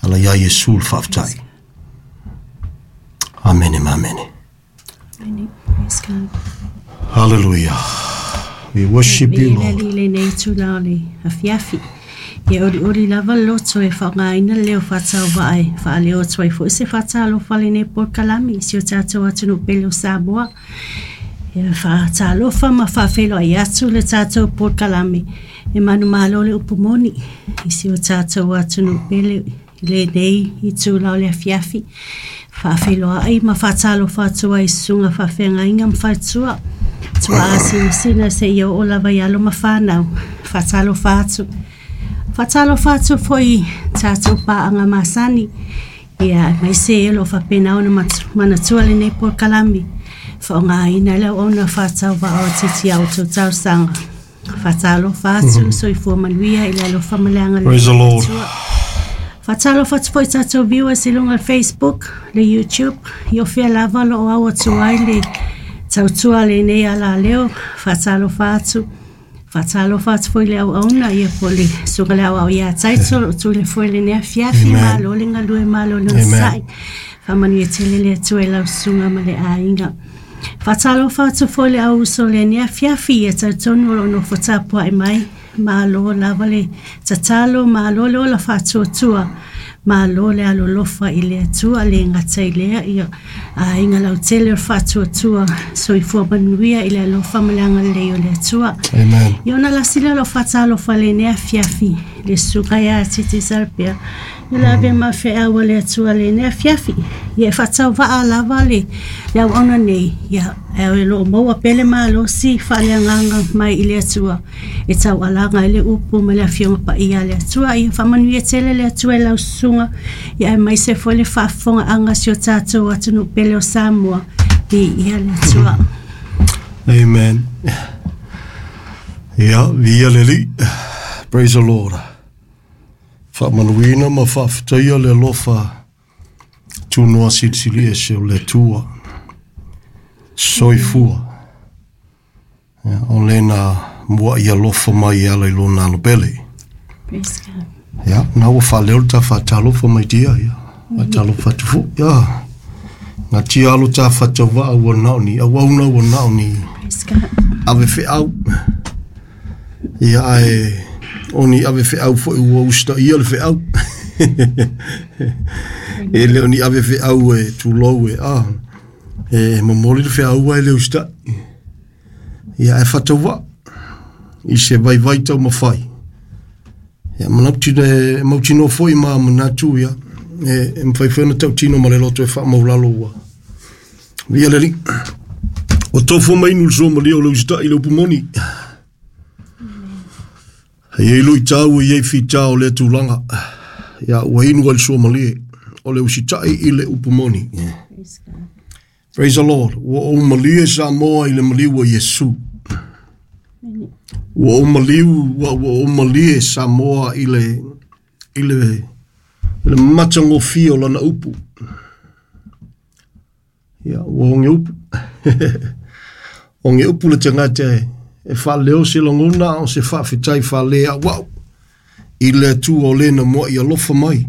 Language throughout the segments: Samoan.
Ala iā Iesu le faafetai. Amene ma amene. Amene. Praise God. Hallelujah. We worship you, Viia le Lord. Alii i lenei itula o le afiafi. Ia olioli lava le loto e faaaogaina le leo faatauvaa e faaleo atu ai foi se faatalofa lenei polokalame i si o tatou atunuu pele o Samoa. Ia faatalofa ma faafeiloai atu le tatou polokalame e manumalo le upu moni i si o tatou atunuu pele i lenei itula o le afiafi. Faafeiloai ma faatalofa atu ai i susuga faafeagaiga ma faletua. Tuaa sinasina seia oo lava i alo ma fanau. Faatalofa atu. Faatalofa atu foi i tatou paaga masani. Ia, aemaise o lo o faapena ona manatua lenei polokalame. Faaaogaina le auauna faatauvaa o titi a outou talosaga. Faatalofa atu, soifua manuia i le alofa ma le agalelei Praise the o le Lord. Atua. Faatalofa atu foi i tatou viewers i luga o le Facebook, le YouTube, i o fea lava o lo o au atu ai le tautua a lenei alaleo. Faatalofa atu. Faatalofa atu foi i le auauna, ia po o le susuga i le aoao ia Taito, o lo o tu i le foe i lenei afiafi. Amen. Malo le galue, malo le Amen. onosai. Faamanuia tele le Atua i lau susuga ma le aiga. Faatalofa atu foi i le au uso o lenei afiafi, ia talitonu o lo o nofo tapuai mai. Malo lava le tatalo, malo le ola faatuatua, malo le alolofa i le Atua, le gata i lea, ia aiga lautele o le faatuatua, soifua manuia i le alofa ma le agalelei o le Atua. Amen. Ia ona lasi lea o lau faatalofa i lenei afiafi, le susuga ia Titi Salapea, ia le ave ma feau a le Atua i lenei afiafi. Ia e faatauvaa lava le auauna nei, ia e o lo o maua pea le malosi faaleagaga mai i le Atua e taualaga ai le upu ma le afioga paia a le Atua. Ia faamanuia tele le Atua i lau susuga, ia aemaise foi le faafofogaaga a si o tatou atunuu pele o Samoa. Viia le Atua. Amen. Ia, viia le Alii. Praise the Lord. Faamanuina ma faafetaia le alofa tunoa silisili ese o le Atua. Soifua. Ia, o lena mua'i alofa mai e ala i lona alopele. Praise God. Ia, na ua faaleo le ta faatalofa mai tia, ia. Faatalofa atu foi, ia. Ngā tia alo tā whatauvaa ua nao ni, auauna ua nao ni, Praise God. ave feau. Ia ae, o ni ave feau foi ua usita ia le feau. E le o ni ave feau e tulou e, ah, e momoli le feau ai le usita. Ia e whatauvaa, i se vaivai tau mawhai. Ia manatu e mautinoa foi ma manatu ia, e mawhai foi ona tautino ma le loto e whaamaulalo ua. Via le Alii. O tofua mai inu le soa malie o le usitai i le upu moni. E iai luitau e iai fita o lea tulaga. Ia ua inu ai le soa malie o le usitai i le upu moni. Praise God. Praise the Lord. Ua ou malie Samoa i le maliu o Iesu. Amen. Ua ou maliu, ua ou malie Samoa i le i le matagofie o lana upu. Ia, ua oge upu. Oge upu le tagata e faaleo se lagona o se faafetai faaleauau i le Atua o lena mua'i alofa mai.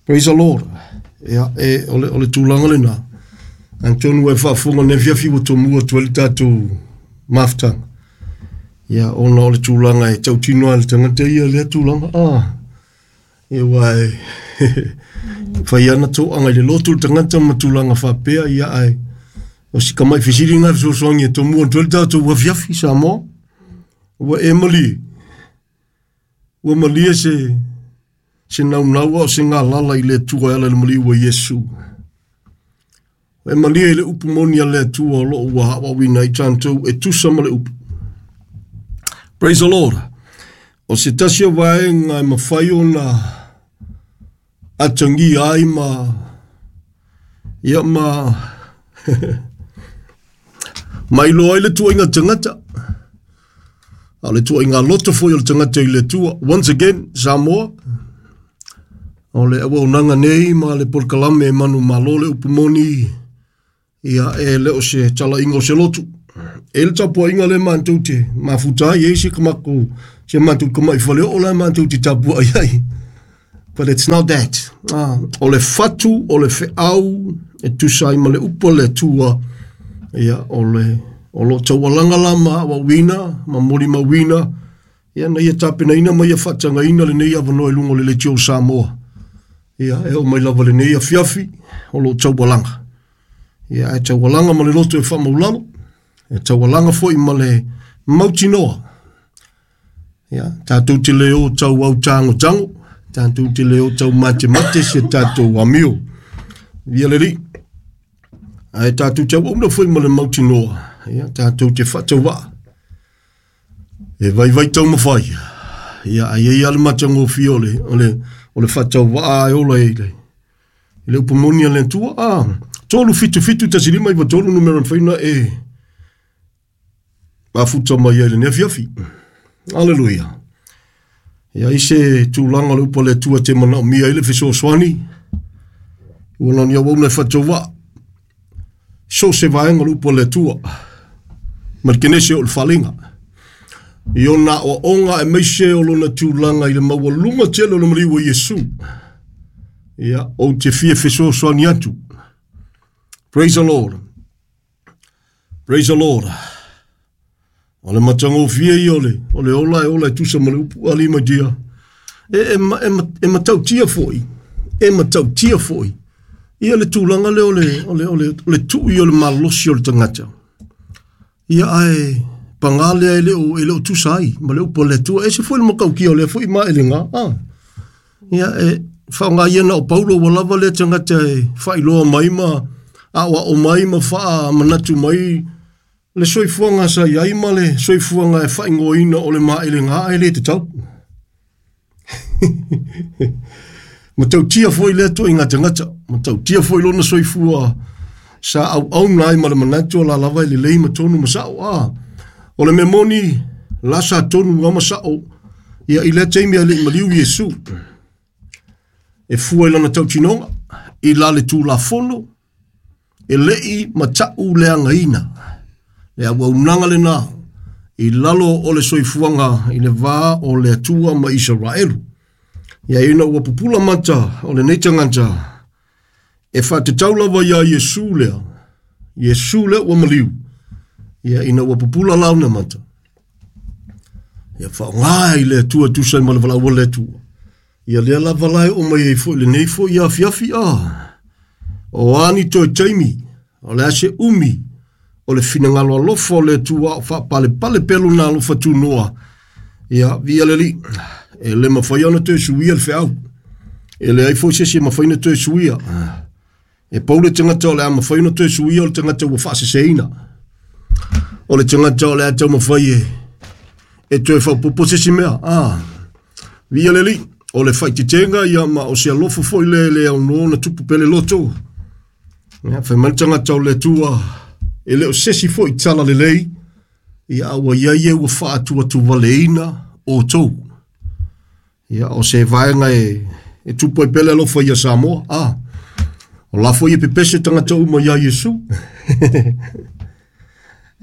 Praise the Lord. Ia, e, o le tulaga lena. Atonu e faafofoga nei afiafi ua tomua atu ai le tatou mafutaga. Ia, ona o le tulaga e tautino ai le tagata ia lea tulaga. Ah, ia ua e fai ana toaga i le lotu le tagata ma tulaga faapea, ia ae o si kamai fesili ngā fesoasoani e tomua atu ai le tatou afiafi Samoa. Ua e malie. Ua malie se naunau o se ngā lala i le Atua e ala i le maliu o Iesu. E malie i le upu moni a le Atua o loo ua haawawina i tātou e tusa ma le upu. Praise the Lord. O se tasi o vaega e mawhai ona atangia ai ma ia ma mailoa ai le tuaiga tagata. A o le tuaiga loto foi o le tagata i le Atua. Once again, Samoa, o le auaunaga nei ma le polokalame e manumalo le upu moni, ia e le o se talaiga o se lotu. E le tapuaiga le matou te mafuta ai e se kamakou, se matou kama'i faleoo la matou te tapuai ai. But it's not that. Ah, o le fatu, o le feau, e tusa ai ma le upu a le Atua, ia, o le, o lo taualaga la ma auauina, ma molimauina, ia, na ia tapenaina ma ia faatagaina lenei avanoa i luga o le Leitio o Samoa. Ia, e oo mai lava lenei afiafi, o lo taualaga. Ia, ae taualaga ma le loto e faamaulalo, e taualaga foi ma le mautinoa. Ia, tatou te le o tau au tagotago, tatou te le o tau matemate si a tatou amio. Ia le Alii. Ae tatou te auauna foi ma le mautinoa, ia, tatou te faatauvaa. E vaivai taumafai. Ia, ae i ai lava le matagofie o le, o le, o le faatauvaa e ola i le, i le upu moni a le Atua. Ah, 3 7 7 1 5 9 3 numera mafai ona e mafuta mai ai lenei afiafi. Aleluia. Ia i se tulaga o le upu a le Atua te manaomia ai le fesoasoani, ua na o ni auauna e faatauvaa. So o se vaega o le upu a le Atua, ma le Kenese o le Faaliga. I ona aoaoga aemaise o lona tulaga i le maualuga tele o le maliu o Iesu. Ia, ou te fia fesoasoani atu. Praise the Lord. Praise the Lord. O le matagofie ia o le, o le ola e ola e tusa ma le upu a lima dia. E, e, e, e matautia foi, e matautia foi. Ia le tulaga lea o le, o le, o le, o le tui o le malosi o le tagata. Ia ae paga lea e le o tusa ai ma le upu a le Atua. E ese foi le matautia o lea foi maelega. Ah. Ia e faaaoga ia na o Paulo ua lava lea tagata e faailoa mai ma aoao mai ma faamanatu mai le soifuaga sa i ai ma le soifuaga e faaigoaina o le maelega ae le tatau. Matautia foi lea toaiga tagata, matautia foi lona soifua sa auauna ai ma le manatu o la lava e lelei ma tonu ma sao. Ah, o le mea moni, la sa tonu lava ma sao, ia i lea taimi ae le i maliu Iesu. E fua i lana tautinoga, i la le Tulafono, e le i matau leagaina. Le auaunaga lena i lalo o le soifuaga i le va o le Atua ma Isaraelu. Ia ina ua pupula mata o lenei tagata, e faatatau lava iā Iesu lea, Iesu lea ua maliu, ia ina ua pupula launa mata. Ia faaaoga i le Atua tusa ai ma le valaau a le Atua. Ia lea lava la e oo mai ai foi lenei foi afiafi a. O a ni toe taimi, o le a se umi, o le finagalo alofa o le Atua o faapalepale pea lona alofa tunoa. Ia, viia le Alii, e le mafai ona toe suia le feau. E leai foi se isi e mafai ona toe suia. E pau le tagata o le a mafai ona toe suia o le tagata ua faaseseina. O le tagata o le a taumafai e, e toe faaopoopo se isi mea. Ah, viia le Alii, o le faaeteetega ia ma o se alofa foi le le aunoa ona tupu pea le loto. Ia, fai mai le tagata o le Atua, e le o se isi foi tala lelei, ia a ua i ai e ua faatuatuvaleina outou. Ia, o se vaega e, e tupu ai pea le alofa ia Samoa. Ah, o la foi e pepese tagata uma iā Iesu.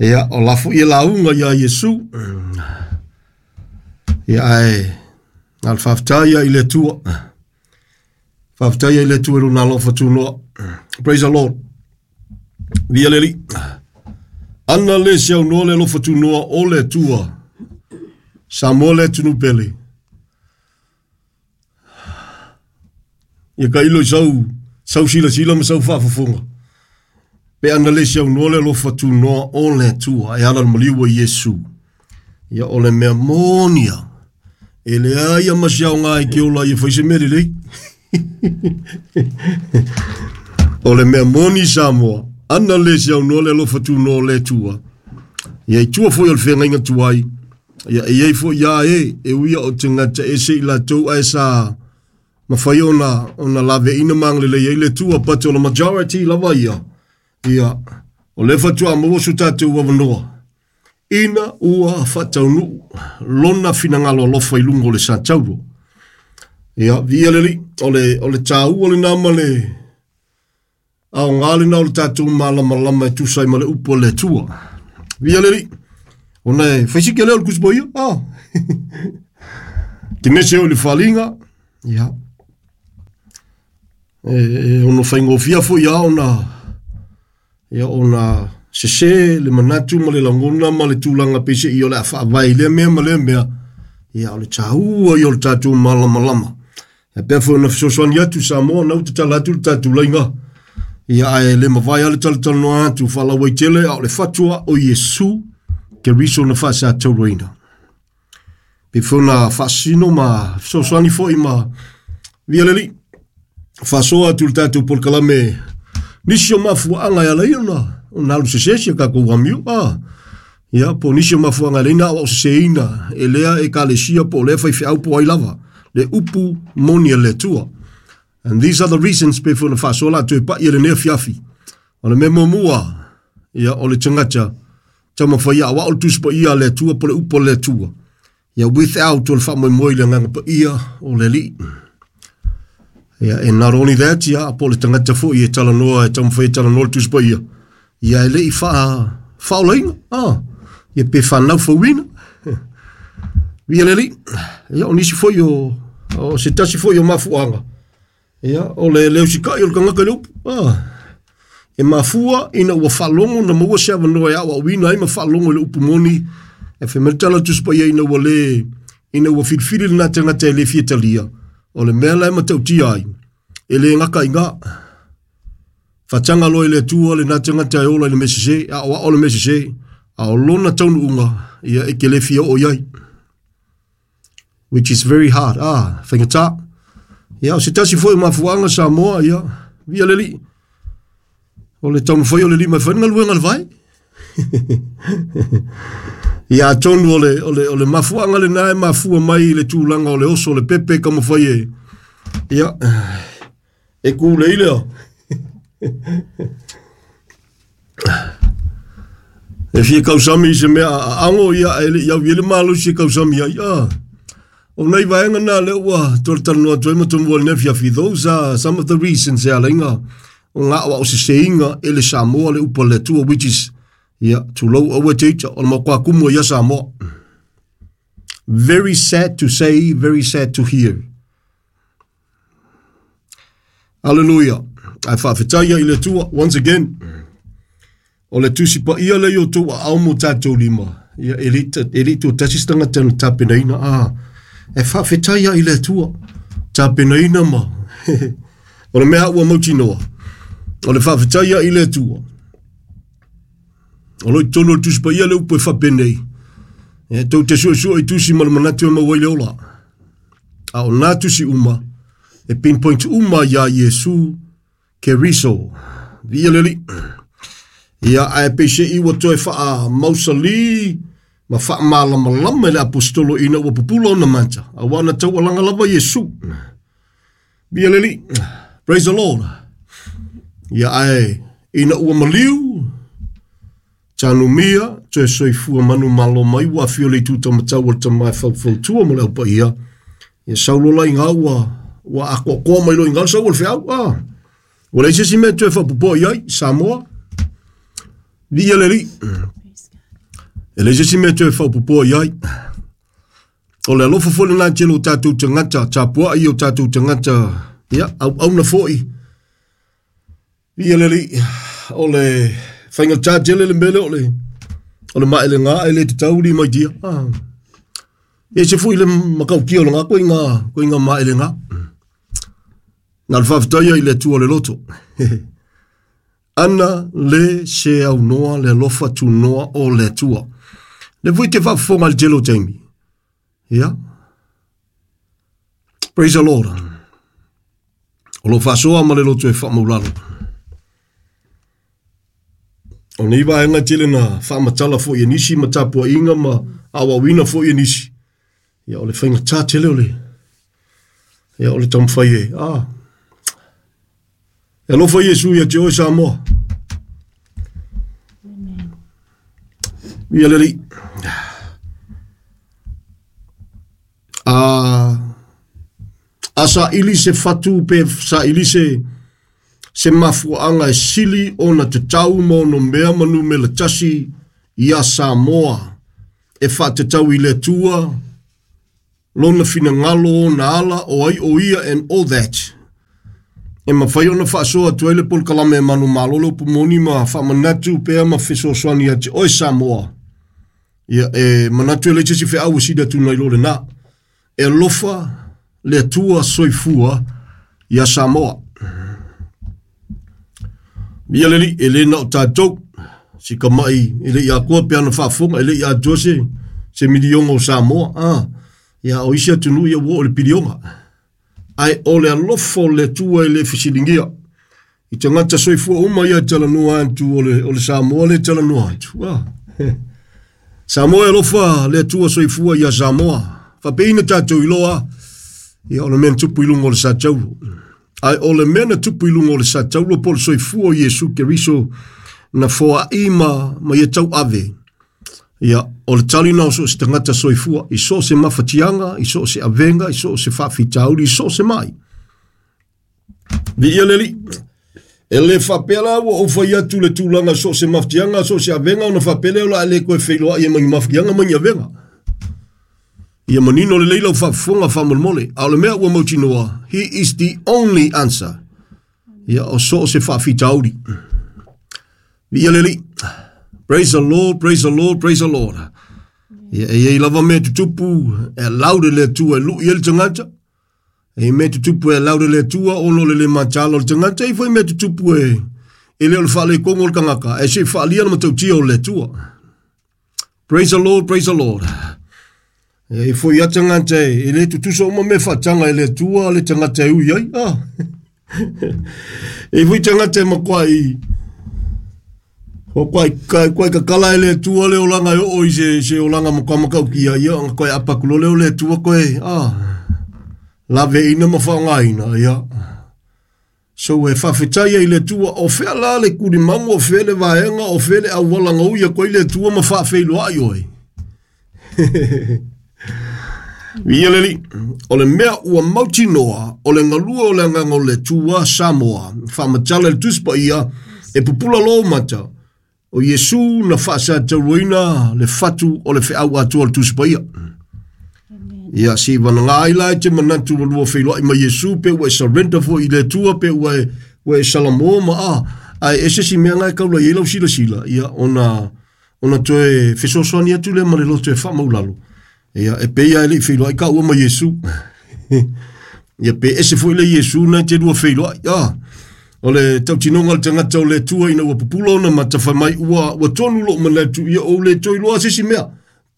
Ia, o la foi e lauga iā Iesu. Ia, ae, na le faafetai ia i le Atua. Faafetai ia i le Atua i lona alofa tunoa. Praise the Lord. Viia le Alii. Ana le se aunoa le alofa tunoa o le Atua. Samoa le atunuu pele. Ia tailo i sau, sau silasila ma sau faafofoga. Pe ana le se aunoa le alofa tunoa o le Atua e ala i le maliu o Iesu. Ia o le mea moni lava, e leai lava ma se aoga e te ola ai e fai se mea lelei. O le mea moni Samoa, ana le se aunoa le alofa tunoa o le Atua. Ia i tua foi o le feagaiga tuai, ia e i ai foi ia e, e ui o tagata ese i latou ae sa mafai ona, ona laveaiina ma agalelei ai le Atua, but o le majority lava ia, ia, o lea faatoa maua so tatou avanoa, ina ua faataunuu lona finagalo alofa i luga o le satauro. Ia, viia le Alii, o le, o le tāua lena ma le aoga lena o le tatou malamalama e tusa ai ma le upu a le Atua. Viia le Alii, ona e fai si tele o le Tusi Paia, ah. Te mese o i le faliga, ia. E ono faigofia foi ia ona ia ona sese le manatu ma le lagona ma le tulaga peiseai o le a faavae i lea mea ma lea mea. Ia o le taua ia o le tatou malamalama. Ia pea foi ona fesoasoani atu Samoa na ua tatala atu le tatou laiga. Ia ae le mavae lava le talatalanoa atu faalauaitele a o le fatua o Iesu Keriso na faasatauraina. Pe foi ona faasino ma fesoasoani foi ma via le Alii. Faasoa atu le tatou polokalame nisi o mafuaaga e ala ai ona ona alu sese si a tatou amio. Ah, ia, po o nisi o mafuaaga e ala ai ona aoao seseina e lea ekalesia po o lea faifeau po o ai lava le upu moni a le Atua. And these are the reasons pe foi ona faasoa la toe pai e lenei afiafi. O le mea muamua, ia, o le tagata taumafai aoao le Tusi Paia a le Atua po o le upu a le Atua. Ia, without o le faamoemoe i le Agaga Paia o le Alii. Ia, and not only that, ia, po o le tagata foi e talanoa, e taumafai e talanoa le Tusi Paia, ia e le i faa, faaolaina, ah, ia pe faanaufauina. Viia le Alii. Ia, o nisi foi o, o se tasi foi o mafuaaga, ia, o le le usikai o le tagata i le upu. Ah, e mafua ina ua faalogo na maua se avanoa e aoaoina ai ma faalogo i le upu moni, e fai mai le tala o le Tusi Paia ina ua le, ina ua filifili lena tagata e le fia talia, o le mea la e matautia ai, e le gata i ina. Faataga loa i le Atua lena tagata e ola i le mea sese, aoao le mea sese, a o lona taunuuga, ia e te le fia oo i ai. Which is very hard. Ah, faigata. Ia, o se tasi foi o mafuaaga Samoa, ia, via le Alii. O le taumafai o le lima e fai le galuega a le vae. Ia atonu o le, o le, o le mafuaaga lena e mafua mai i le tulaga o le oso o le pepe e taumafai e, ia, e kulei lea. E fia kausami i se mea a ago ia ae le i au i ai le malosi e kausami ai. Ah. O nei vaega na lea ua talatalanoa atu ai ma tomua i lenei afiafi. Those are some of the reasons e ala ai o ngā aoao seseiga e le Samoa le upu a le Atua which is ia tulou aua e te ita o le matua kumu ia Samoa. Very sad to say, very sad to hear. Hallelujah. Ae faafetai i le Atua once again. O le Tusi Paia lea i o outou aao ma o tatou lima, ia e le e le i toatasi se tagata na tapenaina, a e faafetai lava i le Atua, tapenaina ma o le mea ua mautinoa, o le faafetai lava i le Atua. O lo o i totonu o le Tusi Paia le upu e faapenei, e tou te suesue i tusi ma le manatu e maua ai le ola. A o nā tusi uma, e pinpoint uma iā Iesu Keriso. Viia le Alii. Ia, ae peiseai ua toe faamausalī ma faamalamalama e le aposetolo ina ua pupula ona mata, auā na taualaga lava Iesu. Viia le Alii. Praise the Lord. Ia, ae ina ua maliu, tanumia, toe soifua manumalo mai ua afio le itu taumatau o le tama e faufautua mo le au paia. Ia sau loa la i ina ua, ua atoatoa mai loa i ina le sau o le feau. Ah, ua leai se isi mea e toe faapopoa i ai, Samoa. Viia le Alii. E leai se isi mea e toe faapopoa i ai. O le alofa foi lena tele o tatou tagata, tapuai o tatou tagata, ia, auauna foi. Viia le Alii. O le faigata tele le mea lea o le, o le maelega e le tatau li mai tia. Ah. E ese foi le matautia o lena koiga, koiga maelega. Na o le faafetai i le Atua o le loto. Ana le se aunoa le alofa tunoa o le Atua. Le foi te faafofoga i le tele o taimi. Ia. Praise the Lord. O lo faasoa ma le loto e faamaulalo. O nei vaega tele na faamatala foi e nisi ma tapuaiga ma aoaoina foi e nisi. Ia, o le faigata tele o le, ia, o le taumafai e, ah, e alofa Iesu ia te oe Samoa. Ia le Alii. A, a saili se fatu pe saili se, se mafuaaga e sili ona tatau ma ono mea ma numera tasi iā Samoa e faatatau i le Atua, lona finagalo, ona ala, o ai o ia and all that. E mafai ona faasoa atu ai le polokalame e manumalo le upu moni ma faamanatu pea ma fesoasoani ia te oe Samoa. Ia e manatu e leai se isi feau e sili atu nai lo lena. E alofa le Atua soifua ia Samoa. Ia le alii, e le na o tatou, si kamai e le i atoa pe ana faafofoga, e le i atoa se milioga o Samoa. Ia o isi atunuu ia ua oo i le pilioga. Ae o le alofa o le Atua e le fesiligia. I tagata soifua uma ia e talanoa atu o le Samoa le talanoa atu. Samoa e alofa le Atua soifua ia Samoa. Faapeina tatou iloa, ia o le mea na tupu i luga o le Satauro. Ae o le mea na tupu i luga o le Satauro po o le soifua o Iesu Keriso na foai ma ia tauave. Ia, o le tali na o so o se tagata soifua, i so o se mafatiaga, i so o se avega, i so o se faafitauli, i so o se mai. Viia le Alii. E le faapea la ua ou fai atu le tulaga so o se mafatiaga, so o se avega, ona faapea lea o le a le toe feiloai ai ma ni mafatiaga ma ni avega. Ia manino lelei lau faafofoga faamolemole. A o le mea ua mautinoa, he is the only answer. Ia, o so o se faafitauli. Viia le Alii. Praise the Lord, praise the Lord, praise the Lord. Ia, e iai lava mea tutupu e allow le Atua e lui ai le tagata. E iai mea tutupu e allow le Atua ona o le le mataala o le tagata. E iai foi mea tutupu e le o le faalekogo o le tagata, ae se i faalia le matautia o le Atua. Praise the Lord, praise the Lord. E iai foi a tagata e le tutusa uma mea faataga e le Atua le tagata e ui ai. E iai foi tagata e makuai o koai koai kakala e le Atua le olaga e oo i se olaga matua matautia ia ona koe aapa atu loa lea o le Atua koe laveina ma faaaogaina ia. So e faafetai ai i le Atua, o fea la le tulimagu, o fea le vaega, o fea le auala na ui atu ai le Atua ma faafeiloai oe. Viia le Alii, o le mea ua mautinoa, o le galue o le agaga o le Atua, Samoa, faamatala i le Tusi Paia, e pupula loa ou mata, o Iesu na faasatauaina le fatu o le feau atoa o le Tusi Paia. Ia, se i vanaga ai la e te manatu ua lua feiloai ma Iesu, pe ua e surrender foi i le Atua, pe ua e salamoa ma a, ae ese si mea na e kaula i ai lau silasila, ia, ona toe fesoasoani atu lea ma le loto e faamaulalo. Ia, e pei lava e le i feiloai taua ma Iesu. Ia, pe ese foi le Iesu na e te lua feiloai. O le tautinoga o le tagata o le Atua ina ua pupula ona mata fai mai ua tonu lou manatu, ia ou le toe iloa se isi mea.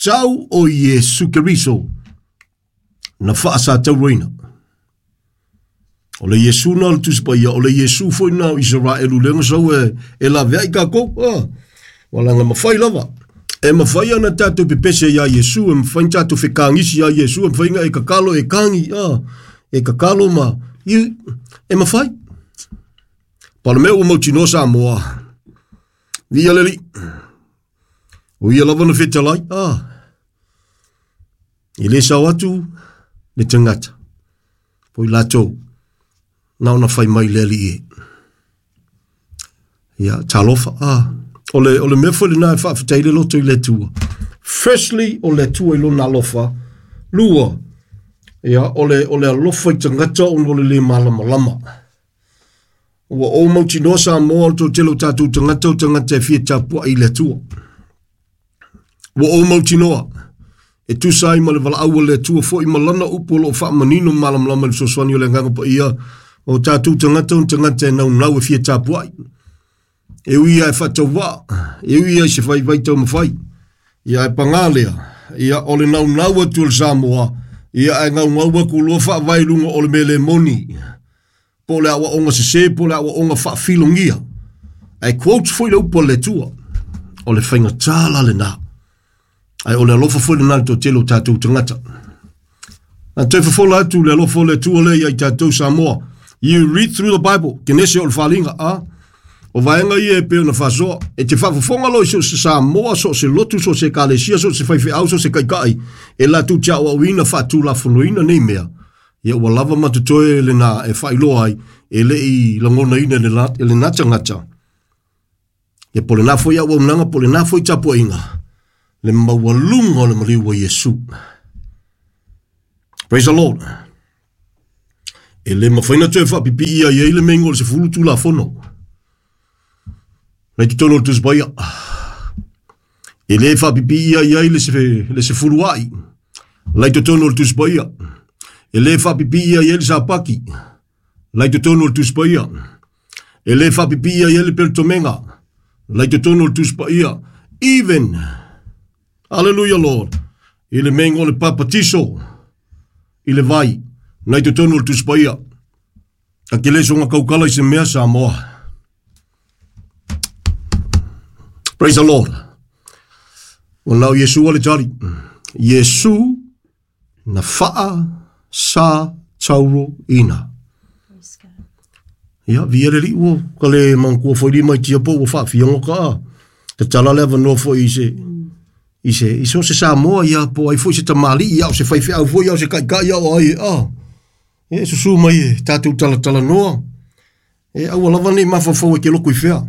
Tau o Iesu Keriso na faasatauaina. O le Iesu na o le Tusi Paia, o le Iesu foi na o Isaraelu lea na sau e laveai tatou. Ua laga mafai lava. E mafai ona tatou pepese ia Iesu, e mafai ona tatou fekagisi ia Iesu, e mafai ona e kakalo e kagi, e kakalo ma, e mafai. Pa o le mea ua mautinoa Samoa, viia le Alii, o ia lava na fetalai, e le sao atu le tagata, po i latou, na ona fai mai le Alii e. Ia, talofa, o le mea foi lena e faafetai le loto i le Atua. Firstly, o le Atua i lona alofa. Lua, ia, o le alofa i tagata ona o le le malamalama. Ua ou mautinoa Samoa o le toatele o tatou tagata o tagata e fia tapuai i le Atua. Ua ou mautinoa, e tusa ai ma le valaau a le Atua foi ma lana upu o loo faamanino malamalama i le fesoasoani o le Agaga Paia, o tatou tagata o tagata e naunau e fia tapuai. E ui ia e faatauvaa, e ui ia i se vaivai taumafai. Ia e pagā lea, ia o le naunau atu o le Samoa, ia e gaugau atu loa faavae i luga o le mea le moni. Po o le aoaoga sese, po o le aoaoga faafilogia. Ae quote foi le upu a le Atua, o le faigata la lena. Ae o le alofa foi lena i le toatele o tatou tagata. Na toe fofola atu le alofa o le Atua lea ia i tatou Samoa. You read through the Bible, Kenese o le faaaliga, o vaega ia e pei ona faasoa. E te faafofoga loa i so o se Samoa, so o se lotu, so o se ekalesia, so o se faifeau, so o se taitai, e latou te aoaoina faatulafonoina nei mea. Ia ua lava ma totoe lena e faailoa ai, e le i lagonaina e lena tagata. Ia po o lena foi auaunaga, po o lena foi tapuaiga, le maualuga o le maliu o Iesu. Praise the Lord. E le mafai ona toe faapipii ai ai le meiga o le 10 Tulafono. Lai totonu o le Tusi Paia. E le faapipii ai ai le 10 ai. Lai totonu o le Tusi Paia. E le faapipii ai ai le Sapati. Lai totonu o le Tusi Paia. E le faapipii ai ai le Peletomega. Lai totonu o le Tusi Paia. Even, hallelujah Lord, i le meiga o le papatiso i le vai, nai totonu o le Tusi Paia. Ta te le soga kaukala i se mea Samoa. Praise the Lord. Ua nao Iesu a le tali. Iesu na faa sa tauro ina. Ia, via le li ua ka le mangkua foi li mai tia po ua whaafia ka a. Te tala le avanoa foi i se i se o se Samoa ia po ai foi se tamali ia o se faifeau foi ia o se kaikai ia o ai a. E susu mai e tātou talatala noa. E aua lava nei mafafau e ke loko i fea.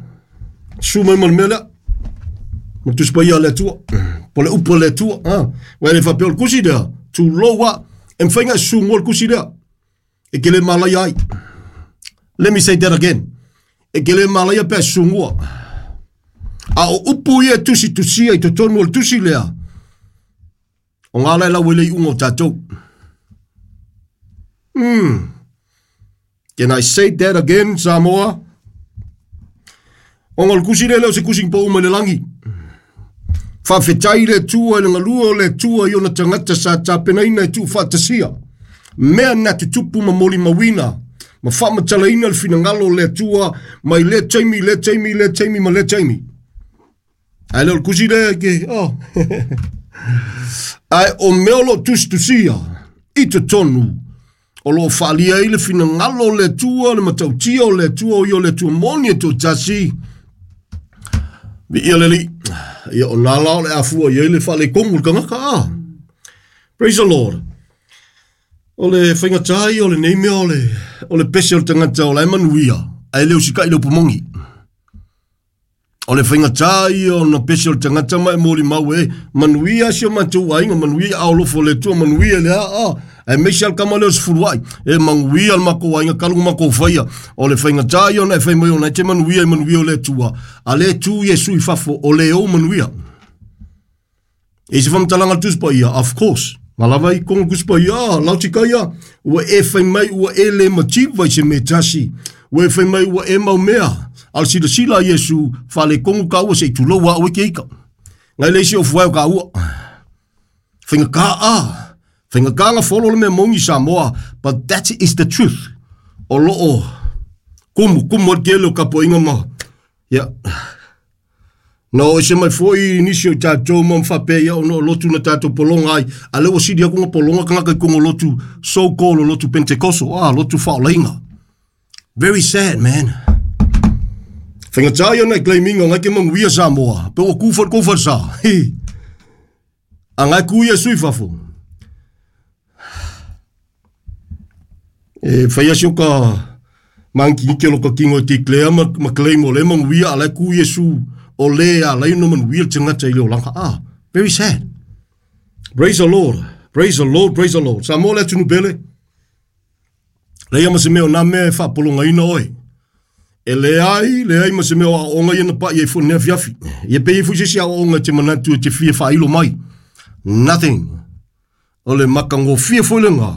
Susu mai ma le mea lea. Ma Tusi Paia le Atua. Po le upu a le Atua. Wa le whapea o le kusi lea. Tu loa. E mwhainga susu ngoa le kusi lea. E ke le malai ai. Let me say that again. E ke le malai pe susu ngoa. A o upu ia tusi tusia i totonu o le tusi lea. O ngā lai lau ele i unga o tātou. Can I say that again, Samoa? O ngā le kusi lea leo se kusi po uma le langi. Whawhetai le tua i le ngalua o le tua i ona tangata sa tāpenaina e tuu whaatasia. Mea na tutupu ma moli mawina. Ma whamatalaina le finangalo o le tua mai le taimi, le taimi, le taimi, ma le taimi. Ai leo le kusi lea ke, oh. Ai o mea o lo tusitusia i te tonu. O lo whaalia i le finangalo o le tua, le matautia o le tua, o i o le tua moni e tō tasi. Vi ia leli, ia o nā lao le afua i le whaale kongu le kangaka a. Praise the Lord. O le whaingatai, o le neimea, o le pese o le tangata, o la e manuia, ai leo sika i le upamongi. O le whaingatai, o na pese o le tangata mai mōri mau e, manuia si o matou ainga, manuia au lofo le tua, manuia le a, a. E meisi al kama leo se furuai, e manguia al mako ainga, kalungu mako whaia. O le whaingatai o na e whai mai o na e te manuia e manuia o le tua. A le tu Iesu i fafo, o le o manuia. E se whamtalanga tuspa ia, of course. Ngā lava i konga kuspa ia, lau tika ia, ua e whai mai, ua e le mativa i se me tasi. Ua e whai mai, ua e mau mea. Al sila sila Iesu, whale kongu ka ua se i tuloua ua ke ika. Ngai leisi o fuai o ka ua. Whainga ka a. Whainga ka nga folo le mea mongi Samoa. But that is the truth. O loo, kumu, kumu al kele o kapo inga ma. Yeah. No, se mai foi nisi o tātou ma mwhapea ia ono lotu na tātou polonga ai. A lewa siri aku nga polonga kanga kai kongo lotu so-called o lotu Pentecosto. Ah, lotu whaolainga. Very sad, man. Whainga tāi ona e claiminga ngai ke manguia Samoa. Pe o kūwhar kūwhar sa. A ngai kuia sui fafo. E whaia si o ka mangi ke loka kingo te klea ma claim o le manguia a lai kuia su o le a lai no manuia te ngata i leo langa. Ah, very sad. Praise the Lord. Praise the Lord, praise the Lord. Samoa le atunu pele. Leia ma se mea o nā mea e whaapolonga ina oe. E le ai ma se mea o aonga ia na pa ia i fo nea fiafi. Ia pe i fusisi a onga te manatu e te fia whailo mai. Nothing. O le makango fia foi le ngā.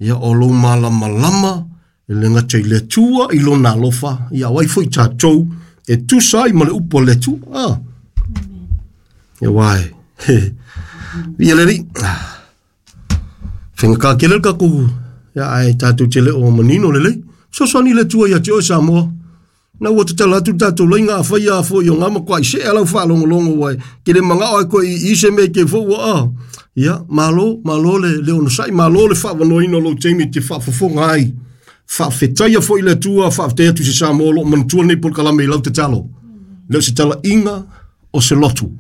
Ia o lo malama lama, e le ngata i le tua, i lo nā lofa. Ia wai foi tātou, e tusa i ma le upo le tua. Ah. Ia wai. Ia le ri. Whenga kā kele ka ku. Ia ai tātou te le o manino le lei. Sosoani le tua ia te oe Samoa. Na ua te tala atu tātou lai ngā whai a fo i o ngā makoa i se alau whaalongolongo wai. Ke le manga oe koe i se me ke fo ua a. Ia, malo, malo le ono sai, malo le whaawanoina lo teimi te whaafofonga ai. Whaawhetaia fo i le tua, whaawhetea tu se Samoa lo manutua nei por kalame i lau te talo. Leo se tala inga o se lotu.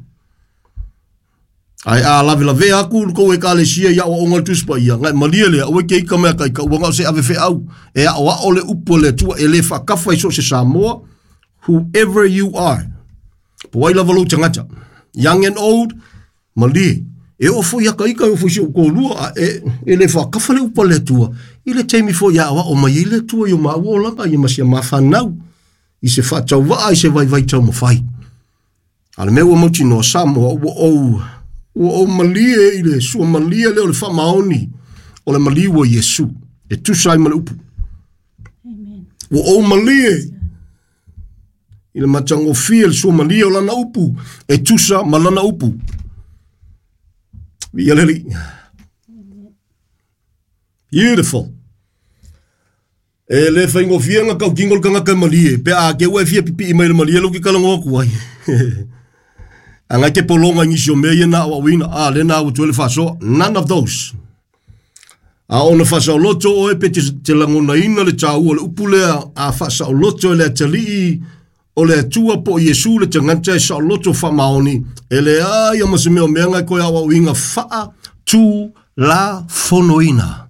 Ai a lave lave aku ko e kale sia ia o onga tuspa ia ngai malia le o ke ika mea kai ka ua se ave fe au e a o le upo le tua e le whakafa i so se Samoa, whoever you are. Po ai lava lo tangata, young and old, malie e o fo ia ka ika o fo si o ko lua e le whakafa le upo le tua I le taimi foi a'oa'o mai ai le Atua i o maua olaga ia ma si a ma fanau i se fa'atauva'a i se vaivai taumafai. A le mea ua mautinoa Samoa ua ou malie i le suamalie lea o le fa'amaoni o le maliu o Iesu e tusa ai ma le upu. Amen. Ua ou malie i le matagofie le suamalie o lana upu e tusa ma lana upu. Viia le Alii. Beautiful. E le faigofie kautino le tagata malie pe a ke ua e fia pipi'i mai le malie lou kikalago atu ai. Agai te pologa i nisi o mea ia na a'oa'oina a lena ua toe le faasoa. None of those. A ona faasaoloto oe pe te lagonaina le tāua o le upu lea a faasaoloto e le atalii o le Atua po o Iesu le tagata e saoloto faamaoni e leai ma se mea o meaga e koe a'oa'oina faa tu la fonoina.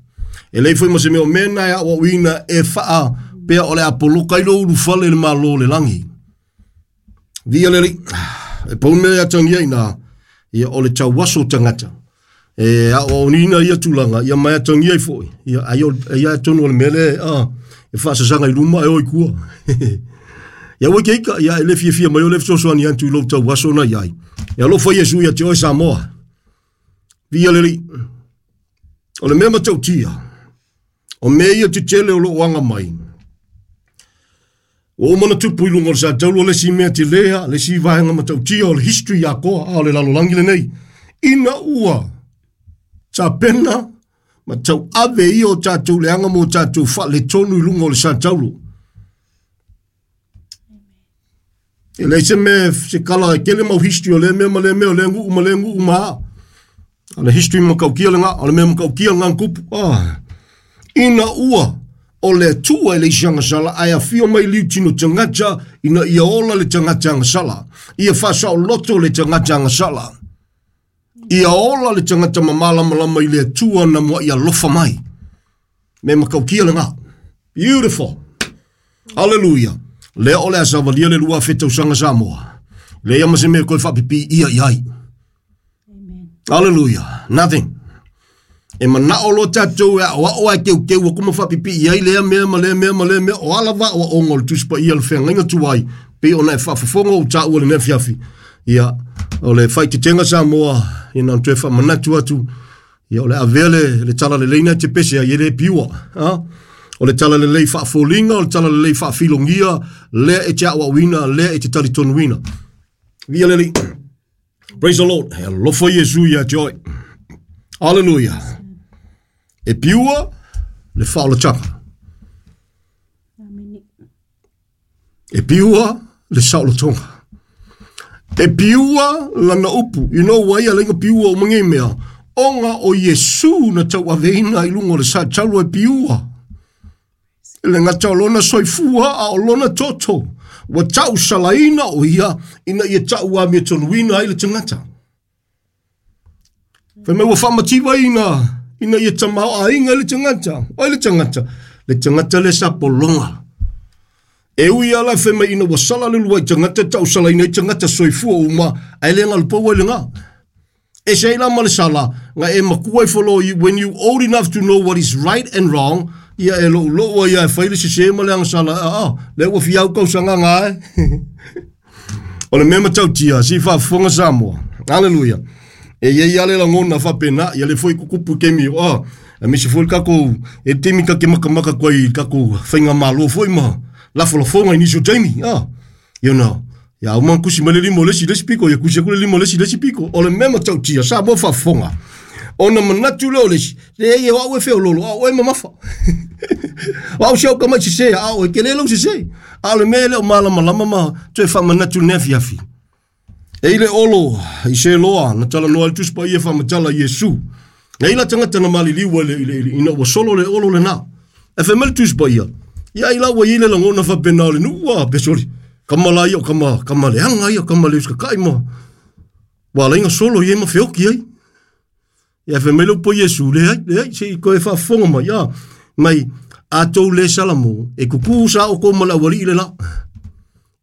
E lei foi ma se mea o mea na e a'oa'oina e faa pea o le apoloka i lo ulufale le malo le lagi. Via le Alii. E pau mea atagia ina ia o le tauaso tagata. E a'oa'oina ia tulaga ia mai atagia ai foi. Ia ai o ia tonu o le mea le a e faasasaga i luma e o i kua. Ia ua ke ika ia e le fiafia mai o le fesoasoani atu i lou tauaso na iai. E alofa Iesu ia te oe Samoa. Via le Alii. O le mea matautia. O mea ia tetele o loo aga mai. Ua uma ona tupu i luga o le sataulu o le isi mea telea, le isi vaega matautia o le history atoa a o le lalolagi lenei. Ina ua tapena ma tauave ia o tatou leaga mo tatou faaletonu i luga o le sataulu. E leai se mea se kala e tele mau history o lea mea ma lea mea o lea nuu ma lea nuu ma a. O le history matautia lena, o le mea matautia lena na tupu. Ah. Ina ua o le Atua e le isi agasala ae afio mai liu tino tagata ina ia ola le tagata agasala. Ia faasaoloto le tagata agasala. Ia ola le tagata mamalamalama i le Atua na mua ia alofa mai. Me makaukia lena. Beautiful. Hallelujah. Lea o le a savalia le 2000 tausaga Samoa. Lea ma se mea koe faapipi ia i ai. Amen. Hallelujah. Nothing. E manao lo tatou e a'oa'o ae keukeu aku ma faapipi'i ai lea mea ma lea mea ma lea mea o ala va'oa'oga o le Tusi Paia le feagaiga tuai pei ona e faafofoga ou taua lenei afiafi. Ia, o le faaeteetega Samoa, ia na ona toe faamanatu atu, ia o le avea le tala lelei na te pese ai e le piua. Ha? O le tala lelei faafoliga, o le tala lelei faafilogia, lea e te a'oa'oina, lea e te talitonuina. Via le Alii. Praise the Lord. E alofa Iesu ia te oe. Hallelujah. E piua le faaolataga. Amen. E piua le saolotoga. E piua lana upu. You know why a lenga piua o mangi mea. Onga o Iesu na tau aveina i lunga o le sa taulo e piua. Le ngata o lona soifua a o lona toto. Ua tau salaina o ia ina ia tau a mea tonuina ai le tagata. Fai mai ua faamativa ina ia tamao aiga le tagata. Oi le tagata. Le tagata le sa pologa. E ui ala fai mai ina ua sala le lua i tagata tau salaina i tagata soifua uma ai le ngalu ai le ngā. E se ila ma le sala nga e makua i follow you when you old enough to know what is right and wrong ia e lo lo ia e fai le sese ma le anga sala a le ua fiau kau sanga ngā e. O le mea matautia si faafofoga Samoa. Hallelujah. E ia ia le lagona faapena ia le foi kukupu kemi o a misi foi kako e temi ka ke makamaka koi kako fainga malo foi ma lafolafoga i nisi o taimi ah you know ia uma kusi ma le lima o le isi le isi piko ia kusi aku le lima o le isi le isi piko o le mea matautia Samoa faafofoga ona manatu lea o le isi le ia o au e feololo a o e mamafa o au si au ka mai sese a o e kele lau sese a o le mea le o malamalama ma toe faamanatu lenei afiafi. E i le olo i se loa na tala noa le Tusi Paia faamatala Iesu. Na ila tagata na maliliu ai le ina ua solo le olo lena. E fai mai le Tusi Paia. Ia i la ua i le lagona faapena o le nuu a pesoli. Kama la ia o kama, kama leaga ia, kama le usakakai ma. Ua ala ai solo ia ma feoki ai. Ia fai mai le upu a Iesu, leai, leai, se i koe faafofoga mai, a. Mai, a tou le salamo, e kuku sa o kou ma le aualii le la.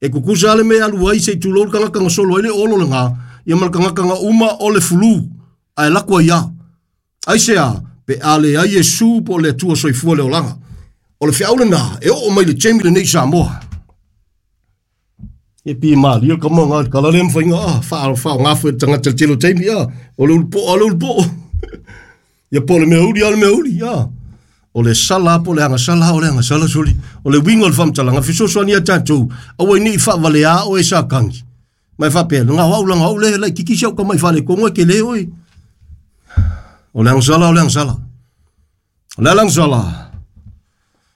E kuku sa le mea alu ai se i tulou le tagata na solo ai le olo lena, ia ma le tagata na uma o le fulu, ae lako ai ia. Ai se a, Pe a leai Iesu po o le Atua soifua le olaga. O le feau lena e oo mai le taimi lenei i Samoa. E pi malie ka mo ngā kala le mawhainga a, wha ngā fwe tangata telo taimi a, o le ulupo a le ulupo. Ia po le mea uli a le mea uli a. O le sala po le agasala o le agasala soli. O le winga o le whamtalanga, fesoasoani ia tātou, aua i ni i whaavale a o e sa kangi. Mai whapea, ngā wau la ngā le, lai kiki siau ka mai whale kongo e ke le oi. O le agasala, o le agasala. O le agasala.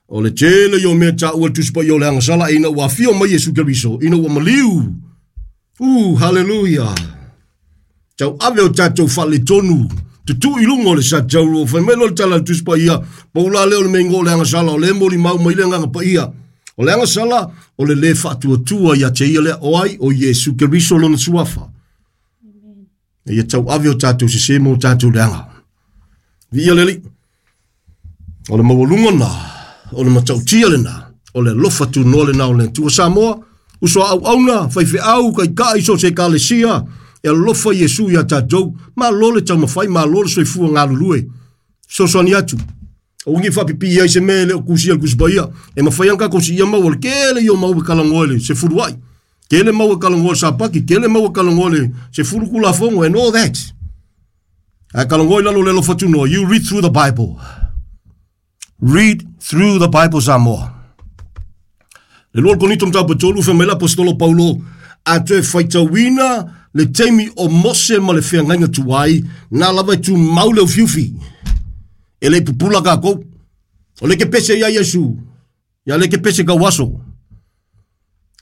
O le tele i o mea tā ua tusipa i o le agasala ina ua fio mai Iesu Keriso, ina ua maliu. Hallelujah. Tau ave o tātou whale tonu. Tutu i lunga o le sa tau ro. Whai mai lo le tala le tusipa ia. Paula leo le meingo o le agasala. O le moli mau mai le nganga pa ia. O le agasala, o le le whaatuatua ia te ia lea o ai o Iesu Keriso lona suafa. E ia tau ave o tātou se se mo tātou le anga. Vi ia leli. O le maualunga nā, o le matautia le nā, o le lofa tu noa le nā o le tua Samoa, uso au auna, whai wheau, kai kai so se kalesia, e alofa Iesu ia tātou, ma lo le taumawhai, ma lo le soifua ngā lulue. Sosoani atu. O ngi whapipi ia i se mele o kusi al kusipaia, e mawhai anka kosi ia mau, o kele i o mau e kalangoe se furuai. Kele mau e kalangoe sa paki, kele mau e kalangoe se furukula fongo, and all that. A kalangoe lalo le alofa tu noa, you read through the Bible. Read through the Bible Samoa. Le lua konito mtau patolu wha mela apostolo Paulo a te whaitauina le teimi o Mose ma le wheangainga tuai nā lava e tu mau leo fiufi. E le pupula ka kou. O le ke pese ia Yesu. Ia le ke pese ka waso.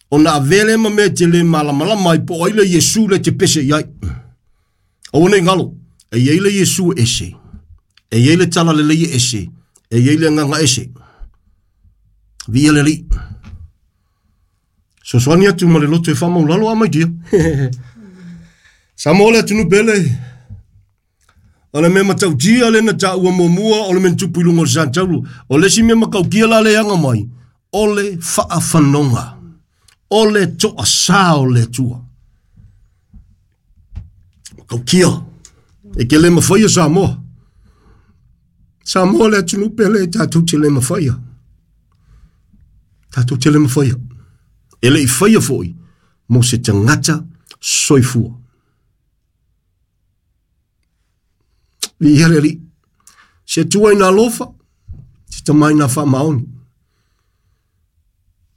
O nā vele ma me te le malamalama i po ai le Yesu le te pese iai. O nei ngalo. E iei le Yesu ese. E iei le tala le leie ese. E iei le nganga ese. Via le li. Sosoani atu ma le loto e whamau lalo a mai dia. Samoa le atunu pele. O le mea matautia le na tā ua mōmua o le mea tupu i lunga o le santaulu. O le si mea makaukia la le anga mai. O le whaafanonga. O le toa sā o le tua. Makaukia. E ke le mawhaia Samoa. Samoa le atunu pele e tātou te le mawhaia. Tātou te le mawhaia. E le i whaia foi, mo se tangata soifua. Vi ia le li. Se tua i nā lofa, se tamai nā wha maoni.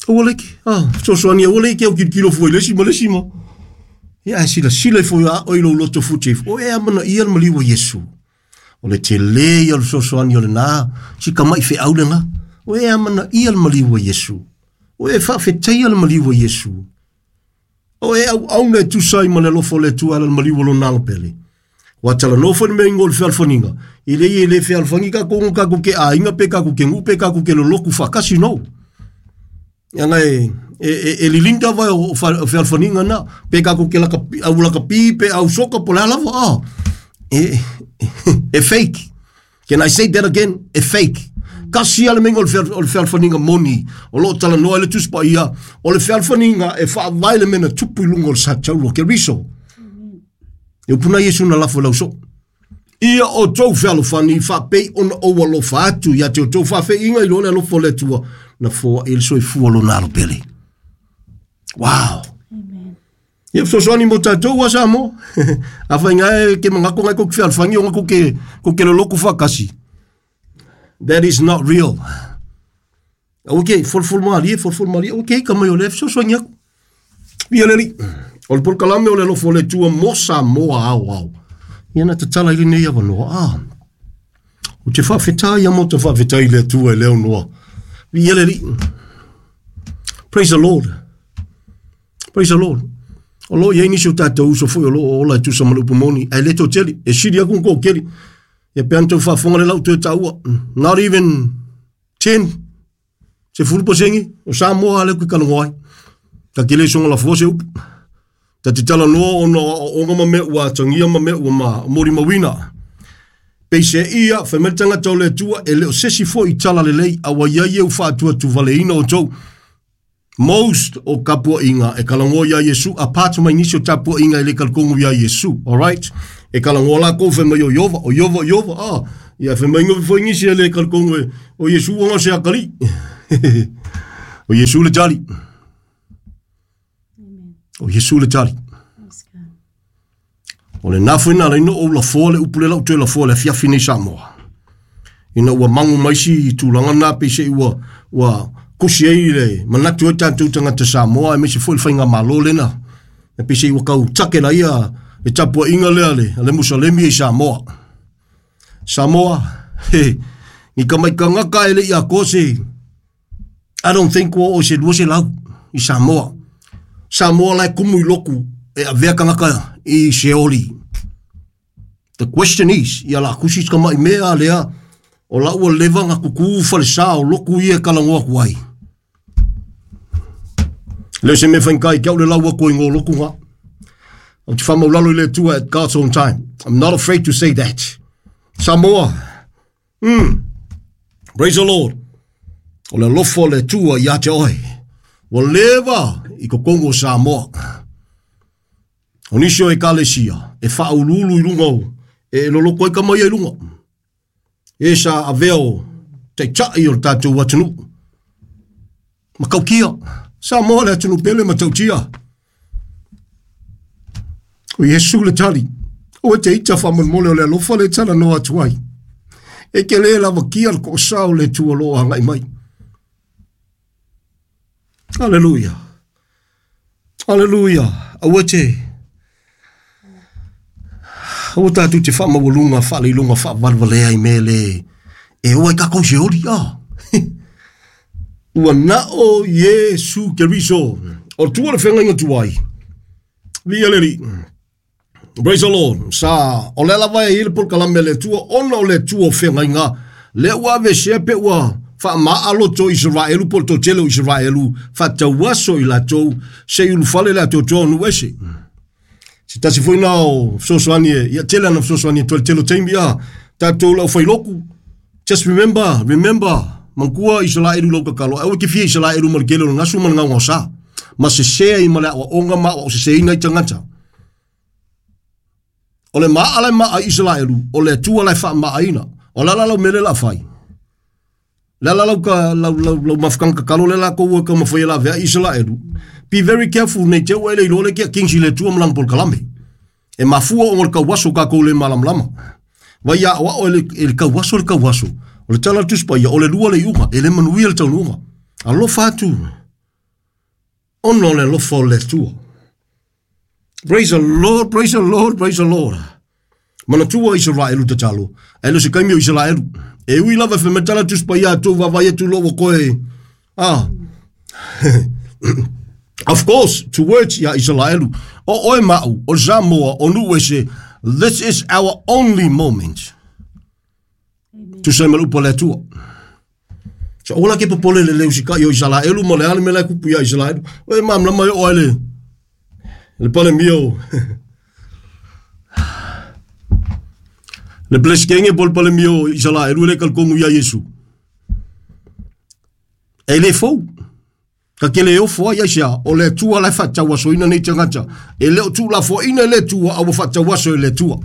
Ua leke, sosoani, ua leke au kilo fua i lesi ma lesi ma. Ia a sila sila i foi a oi lo loto futi. O e amana ia le maliua Iesu. O le te le ia le sosoani o le nā, si ka mai whe au le ngā. O e amana ia le maliua Iesu. O e whaafeteia le maliua Iesu. O e au au nei tusai ma le lofo le tua le maliua lo nalo pele. Wa tala no fo me ngol fealfaninga. I le i le fealfangi ka kongo ka ke a inga pe ka ke ngupe ka ke lo loku whakasi no. Ia e lilinda vai o fealfaninga na pe ka ke la au la kapi pe au soka po la lava ah. E fake. Can I say that again? E fake. Kasi ale mengo o le fealfaninga moni. O lo tala noa le tuspa ia. O le fealfaninga e whaavai le mena tupu i lunga o le sa taulo ke riso. E upuna Iesu na lafo lau so. Ia o tau fealofani whaapei ona o alofa atu. Ia te o tau whawhe inga i lo le alofo le tua. Na fua il soi fua lo nalo pele. Wow. Amen. Ia fesoasoani mo tātou a Samoa. A whai ngai ke mangako ngai ko ke fealfangi o ngako ke lo loku whakasi. That is not real. Okay, fol malie, fol malie. Okay, ka mai o le fesoasoani aku. Via leli. O le polokalame o le alofo le tua mo Samoa au au. Ia na tatala i lenei avanoa. Ah. O te whaafetai ia mo te whaafetai le tua e leo noa. Via leli. Praise the Lord. Praise the Lord. O lo ia nisi o tātou uso foi o lo o ola e tusa malu pumoni. Ai le tō teli. E siri aku ngō keli. Ia pe antou whaafonga le lau toe tāua. Not even 10. Se furu posengi. O Samoa ale kui kalongoai. Ta kele songa la fua se upu. Ta te tala noa ona o onga ma mea ua tangia ma mea ua ma mori mawina. Peise ia, whaimel tangata o le tua, e leo sesi fo i tala lelei, awa ia ia u whaatua tu valeina o tau. Most o kapua inga e kalangoa ia Iesu, apart mai nisi o tapua inga e le kalkongo ia Iesu, alright? E kalangoa la kou whaimai o Iova, o Iova, Iova, ah. Ia fe mai ngofi foi ngisi le kalkongo o Iesu o se akali. O Iesu le tali. O Iesu le tali. O le nafu ina le no o la fo le upu le lau toe la fo le fiafi nei Samoa. Ina ua mangu mai si tulaga na pe se ua ua kusi ai le manatu e tatou tagata Samoa e mese foi le faiga malo lena. E pe se ua kau take la ia le tapuaiga lea le Musalemi i Samoa. Samoa, he, ni ka mai kangaka e le ia kose. I don't think o se lua se lau i Samoa. Samoa lai kumu i loku e avea kangaka i Seoli. The question is, ia la kusi ka mai mea lea, o la ua leva nga kuku falesa o loku ia kalangoa kuai. Le se me whankai kia ule laua ko ingo loku nga. O te whamaulalo i le tua at God's own time. I'm not afraid to say that. Samoa. Praise the Lord. O le lofo le tua i ate oe. Ua leva i kokongo Samoa. O nisio e kalesia, e whaululu i lunga o, e loloko ai ka mai i lunga. E sa aveo te chai o le tātou atunu. Makaukia. Samoa le atunu pele matautia. O Iesu le tali. O te ita whamonmole o le alofa le tala no atu ai. E ke le lava kia le ko sao le tua loa ngai mai. Hallelujah. Hallelujah. Aua te. Aua tātou te whamawalunga, whaleilunga, whawalwalea i mele. E oa i kakou se ori, ah. Ua nao Iesu Keriso. O tua le whenga inga tuai. Via leli. Praise the Lord. Sa, o le lava e ile pol kalame le tua, ona o le tua o whenga inga. Le ua ave sea pe ua wha to Israelu, pol to tele o Israelu, wha tauaso i la tou, se ulufale le ato toa nu ese. Se tasi foi na o fesoasoani e, ia tele ana fesoasoani e toa le tele o taimi a, tātou lau whailoku. Just remember, mangkua Israelu lau kakalo, aua ke fia Israelu ma le kele o le ngasu ma le ngau sa. Ma se sea i ma le awa onga ma o se se ina i tangata. O le maa le maa Israelu, o le tua lai wha maa ina, o la la lau mele la whai. La la lau ka lau lau lau mafkang kakalo le la ko ua ka mawhai la vea Israelu. Be very careful nei te ua ele i lole kia kingsi le tua malang pol kalame. E mafua o ngol kauaso ka kou le malamlama. Vai ia wa o le kauaso le kauaso. O le tala tuspa ia o le lua le iuga, e le manuia le taunuga. Alofa atu. Ono le alofa o le tua. Praise the Lord, praise the Lord, praise the Lord. Manatua Israelu tatalo. E lo se kaimi o Israelu. E ui lava fe metala tuspa ia atu vavai atu lo koe. Ah. Of course, to words ia Israelu. O oe mau, o Samoa, o Nuese, this is our only moment. Tu se malupo le tua. So ola ke popole le leu sika i o Israelu mo le ale me le kupu ia Israelu. Oe mam lama o ele. Le pale mio. Le bleskenge pol pale mio Israelu le kalkongu ia Yesu. E le fou. Ka ke le ofo ai sia o le tua le whataua so ina nei tangata. E le o tu la fo ina le tua au whataua so le tua.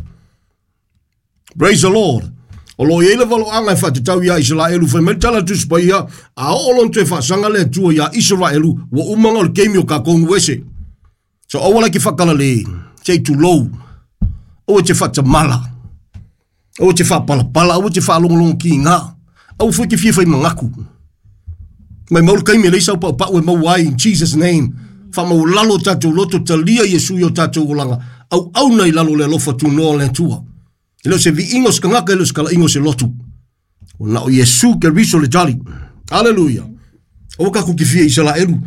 Praise the Lord. O lo ia le valo anga e whatatau ia Israelu whai mai tala tuspa ia a o olon te whasanga le tua ia Israelu wa umanga o le keimi o kakongu ese. So awala ki whakala le te tu lou. O te whatamala. O te whapalapala. O te whalongolongo ki ngā. Au fwe ki fia whai mangaku. Mai maulu kaimi le isau pau pau e mau ai in Jesus name. Wha mau lalo tātou loto talia Yesu i o tātou olanga. Au au nei lalo le alofa tu noa le tua. E leo se vi ingo skangaka e leo skala ingo se lotu. O na o Yesu ke riso le jali. Hallelujah. O ka kuki fia Israelu.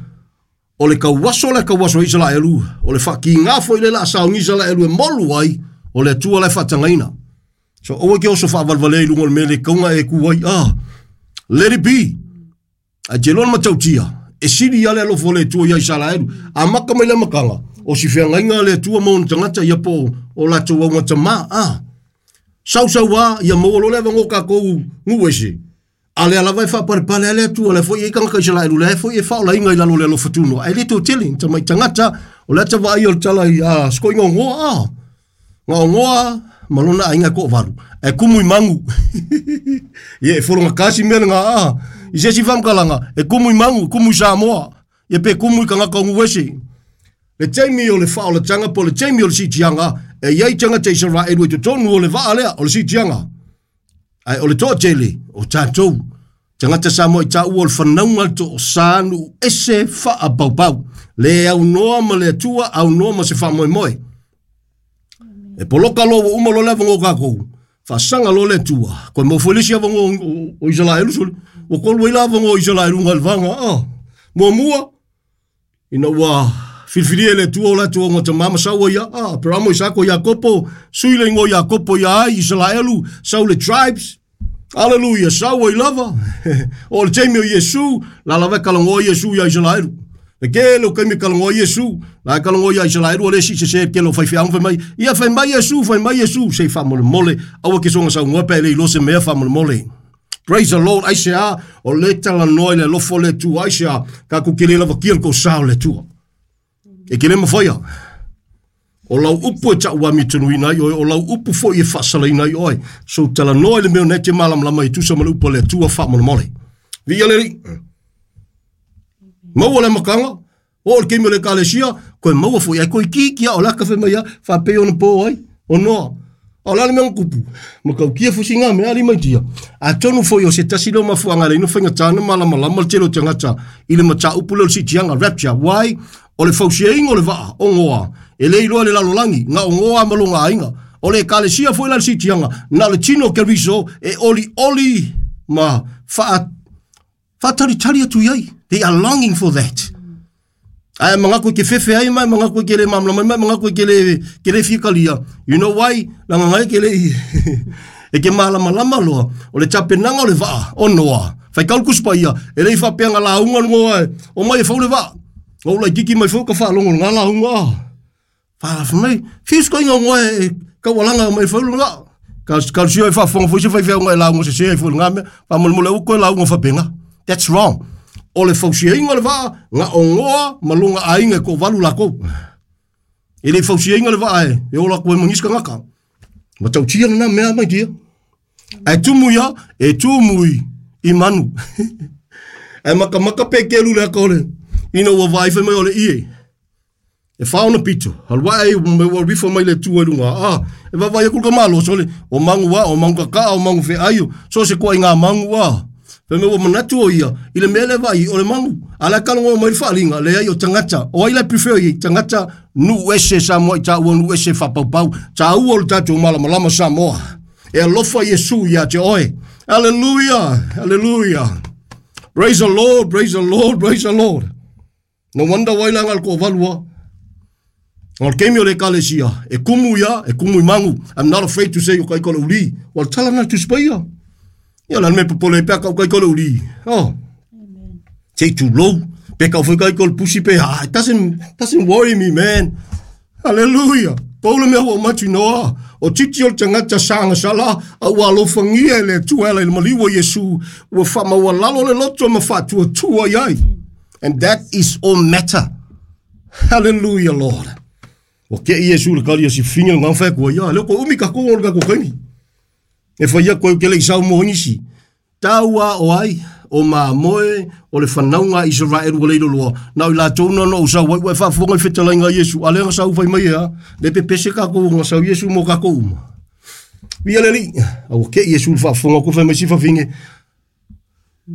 O le kauaso Israelu. O le whaki ngā foi le la saungi Israelu e molu ai. O le tua le whatangaina. So owe ke oso whawalwale i lungo le mele kaunga e kuai. Ah, let it be. A te lona matautia. E siri ale alofo le tua ia Israelu. A maka mai le makanga. O si whiangainga le tua mauna tangata ia po o latou au ngata ma. Ah. Sau sau wa ia maua lo le vango kakou nguese. A le alava e whaparepale ale atua le foi e kangaka Israelu le foi e whaola inga i lalo le alofa tuno. Ai le tō tele, ta mai tangata, o le ata vai o le tala i a skoi ngā ngoa a. Ngā ngoa, ma lona aiga e toavalu, ae kumu i magu. Ia e fologakasi mea lena a. I se isi faamatalaga, e kumu i magu, kumu i Samoa, ia pe kumu i tagata o nuu ese. Le taimi o le faaolataga po o le taimi o le siitiaga, e i ai tagata Isaraelu i totonu o le vaa lea o le siitiaga. Ae o le toatele o tatou tagata Samoa i taua o le fanauga le toosa nuu ese faapaupau. Le aunoa ma le Atua, aunoa ma se faamoemoe. E poloka loa ua uma loa le avanoa o tatou, faasaga loa le Atua, toe maua foi le isi avanoa o Isaraelu sole. Ua tolu ai la avanoa o Isaraelu i le vaga. Ah, muamua, ina ua filifilia e le Atua o latou augatama ma sau ai ia, ah, Aperamo, Isako, Iakopo, sui le igoa Iakopo ia ai, Isaraelu, sau le tribes, Aleluia, sau ai lava. O le taimi o Iesu, la lava e kalagoa Iesu ia Isaraelu. Le tele o taimi e kalagoa Iesu, la e kalagoa ia Isaraelu, o le isi sese tele o faifeau fai mai, ia fai mai Iesu, fai mai Iesu, sei faamolemole, aua ke soga saunoa pe le iloa se mea faamolemole. Praise the Lord, aisea, o le talanoa i le alofa o le Atua, aisea, tatou te le lavakia le tosa o le Atua. E te le mafaia. O lau upu e tauamiotonuina ai oe, o lau upu foi e faasalaina ai oe. So talanoa i le mea o na e te malamalama e tusa ma le upu a le Atua faamolemole. Viia le Alii. Maua le amataga, o le taimi o le Ekalesia, koe maua foi ai koe itiiti a o le aka fai mai a, faapei ona po ai, o Noa. A o le a le mea na tupu? Matautia foi sina mea alii mai tia. Atonu foi o se tasi lea o mafuaaga e ala ai ona faigata ona malamalama le tele o tagata i le mataupu lea o le siitiaga, rapture. Why? O le fausiaina o le vaa o Noa, e le iloa e le lalolagi, na o Noa ma lona aiga. O le ekalesia foi la i le siitiaga, na o le tino o Keriso e olioli ma faa, faatalitali atu i ai. They are longing for that. Ae manatu e ke fefe ai mai, manatu e ke le malamalama mai, manatu e ke le fia talia. You know why? Leaga ngai ke le i e ke malamalama loa o le tapenaga o le vaa o Noa. Faitau le Tusi Paia, e le i faapea na lauga le Noa e omai e fau le vaa. Na ou laitiiti mai foi ka faalogo i lena lauga. Fai mai, fiu se toeaina o Noa e taualaga mai e fau le vaa. Talosia e faafofoga foi se faifeau e lauga sese ai foi i lena mea. Faamolemole aua toe lauga faapena. That's wrong. O le fausiaina o le vaa, na o Noa ma lona aiga e toavalu latou. E le i fausiaina le vaa e ola atu ai ma nisi tagata. Matautia lena mea mai tia. Ae tumu ia, e tumu i manu. Ae makamaka pe kelu le aka o le, ina ua vaai fai mai o le ie. E wha ona pito, alu ae ai me ua rifa mai le Atua i luga. A, e vaavaai aku le tamaloa sole, o magu a, o magu kakaa, o magu feai, so se koa i ngā magu a. Fai mai ua manatu o ia, i le mea lea vaai, o le magu. A la e kalagoa mai le faaaliga, leai o tagata. O ai la e prefer i ai? Tagata nuu ese Samoa i taua nuu ese faapaupau. Taua o le tatou malamalama Samoa. E alofa Iesu ia te oe. Hallelujah, hallelujah. Praise the Lord, praise the Lord, praise the Lord. No wonder why la ngal ko valua. O le taimi o le ekalesia, e kumu ia, e kumu i magu. I'm not afraid to say o kai ko le uli. Ua le tala na Tusi Paia. Ia la le mea popole ai pea kau kai ko le uli. Oh. Sei tulou. Pe kau foi kai ko le pusi pe ah, it doesn't worry me, man. Hallelujah. Pau le mea ua matu noa. O titi o le tagata sagasala, a ua alofagia e le Atua e ala i le maliu o Iesu, ua faamaualalo le loto ma faatuatua i ai. And that is all matter. Hallelujah, Lord. Ua kei Iesu le kali o si finga ngā whai kua ia. Leo ko umi ka kongo le kako kaimi. E whai ia koe ke le isau mo nisi. Taua o ai, o mamoe, o le fanauga a Isaraelu ua leilo loa. Na o i latou na na ou sau ai, ua e faafofoga i fetalaiga a Iesu, a lea na sau fai mai e a, le pepese kākou na sau Iesu mo kākou uma. Viia le Alii, a ua kei Iesu i le faafofoga atu fai mai si fafine,